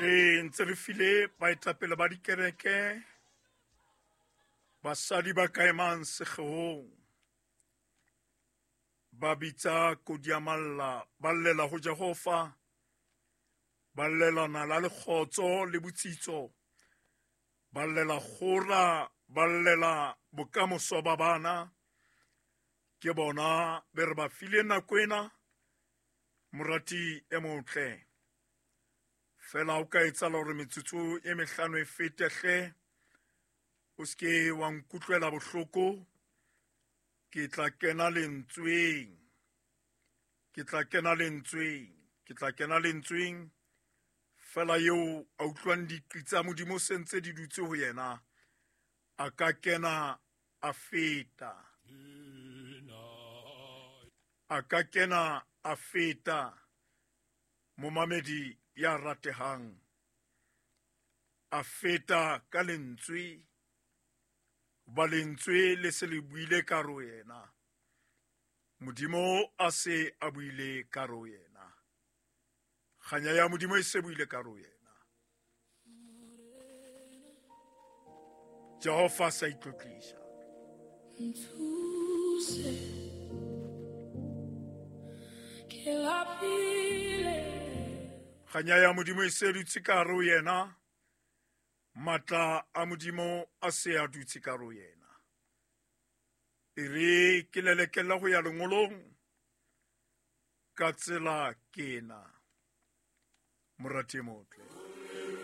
Re ntse re file baetapele ba dikereke, basadi ba ka emang sekgeong, ba bitsa kodiamalla, ba llela ho Jehova, ba llela nala le kgotso le botsitso, ba llela kgora, ba llela bokamoso ba bana. Ke bona be re ba file nako ena, morati e motle. Fela o ka etsahala hore metsotso e mehlano e fete hle, o se ke wa nkutlwela bohloko. Ke tla kena lentsweng, ke tla kena lentsweng, ke tla kena lentsweng. Fela eo a utlwang diqi tsa Modimo se ntse di dutse ho yena, a ka kena a feta, a ka kena a feta. Momamedi ya ratehang, a feta ka lentswe, ba lentswe le se le buile ka ro yena, Modimo a se a buile ka ro yena, kganya ya Modimo e se buile ka ro yena. Jehova sa itlotlisa. Nthuse, ke lapile. Kganya ya Modimo e se dutse ka hare ho yena, matla a Modimo a se a dutse ka hare ho yena. E re ke lelekela ho ya lengolong ka tsela ke ena, morati e motle.